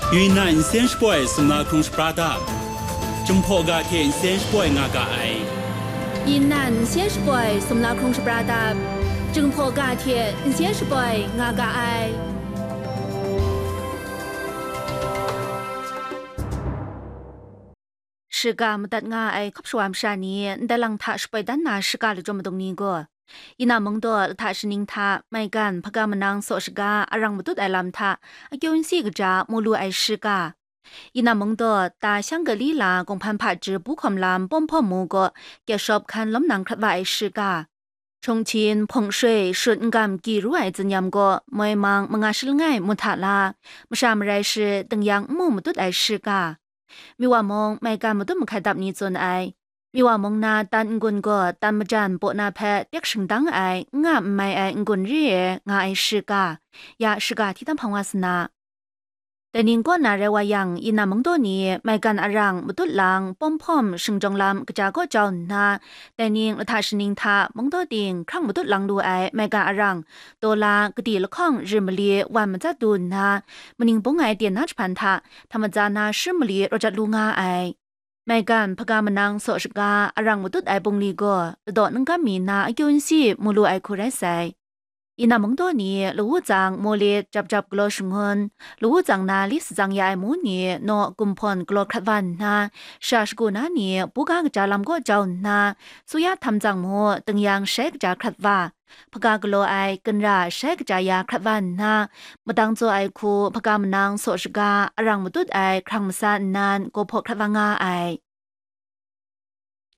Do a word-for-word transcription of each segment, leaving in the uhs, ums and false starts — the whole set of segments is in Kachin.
Yunnan nsen shapoi sumla hkrung shapra dap, Jinghpaw ga hte nsen shapoi nga ga ai. Yunnan nsen shapoi sumla hkrung shapra dap, Jinghpaw ga hte nsen shapoi nga ga ai. Shiga madat nga ai hkap shawa masha ni ndai lang hta shapoi dan na shiga lachyum madung ni gaw, Yunnan mungdaw lahta shaning hta maigan hpaga manang saw shaga arang matut ai lam hta akyu nsi kaja mu lu ai shiga, Yunnan mungdaw ta shang gali la kawng hpan hpaji bu hkawm lam pawm hpawm mu gaw, gyashawp hkan lawm nang hkrat wa ai shiga, Chongchin, Hpawng Shui, Shut N-gam, Kyi ru ai zin-yam gaw moi mang manga shi langai mu hta la, masha marai shi, dingyang n mu matut ai shiga, Miwa mung maigan matut mahkai dap ni tsun ai. Miwa mung na tan n-gun gaw tan majan baw na hpe tek shingdang ai, n nga n mai ai n-gun re ai nga ai shiga, ya shiga hti tam hpang wa sa na. Dai ning kaw na rai wa yang, Yunnan mungdaw ni maigan arang matut lang pawm hpawm shingjawng lam kaja kaw jau nna, dai ning lahta shaning hta mungdaw ting hkrang matut lang lu ai maigan arang, dola kadi lahkawng rim mali wan matsat du nna, maning bung ai ten na jahpan hta htam matsa na shim mali rawt jat lu nga ai. Maigan hpaga manang saw shaga arang matut ai bungli gaw ladaw ningkam mi na akyu nsi mu lu ai hku rai sai. Yunnan mungdaw ni lawu tsang mawlit jap jap galaw shangun, lawu tsang na li satsang ya ai mu ni naw gumhpawn galaw hkrat wa nna, sha shagu na ni buga kaja lam kaw jau nna, suya htam tsang mu dingyang shai kaja hkrat wa, hpaga galaw ai ginra shai kaja ya hkrat wa nna, madang tsaw ai hku hpaga manang saw shaga arang matut ai hkrang masa nnan gaw hpaw hkrat wa nga ai.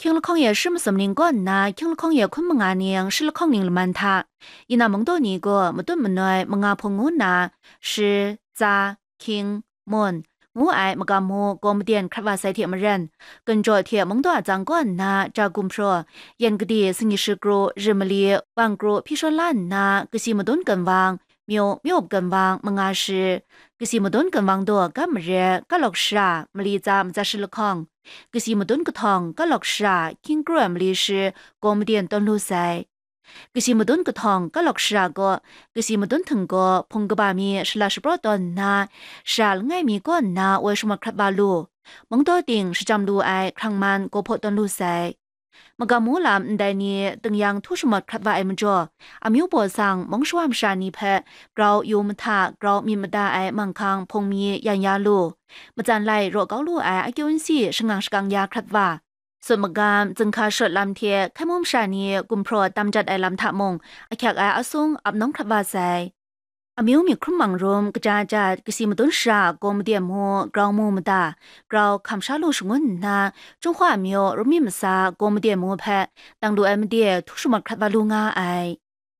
Hkying lahkawng e shi masum ning kaw nna hkying lahkawng e hkun manga ning shi lahkawng ning laman hta, Yunnan mungdaw ni gaw matut manoi manga hpung ngu nna, shi, tsa, hkying, mun, ngu ai magam mu gaw maden hkrat wa sai hte maren, ginjaw hte mungdaw atsang kaw nna ja gumhpraw, yan gade, singyi shikru, rim mali, wang kru hpyi shawn la nna, kasi madun ginwang, myu, myu-up ginwang, manga shi, kasi madun ginwang daw, gam mare, kalawk shara, mali tsa, matsa shi lahkawng, kasi madun kahtawng, kalawk shara, hkying kru ai mali shi, gaw maden tawn lu sai. Kasi madun kahtawng kalawk shara gaw, kasi madun htinggaw hpung kaba mi shala shapraw tawn nna, shara langai mi kaw nna woi shamawt hkrat wa lu, mungdaw ting shajam lu ai hkrang man gaw hpaw tawn lu sai. Magam mu lam ndai ni dingyang htu shamawt hkrat wa ai majaw, amyu baw sang mung shawa masha ni hpe grau yu mahta, grau myit mada ai manghkang hpung mi yan ya lu, matsan lai raw kau lu ai akyu nsi shangang shakang ya hkrat wa, sut magam, zinghka shawt lam hte hkai mum sha ni gumhpraw tam jat ai lam hta mung, ahkyak ai asung ap nawng hkrat wa sai. Amyu myit hkrum mang rum, kaja jat, kasi madun shara gaw made mu, grau mu mada, grau hkam sha lu shangun nna, Jinghpaw amyu rum myit masa gaw made mu hpe, dang lu ai made htu shamawt hkrat wa lu nga ai.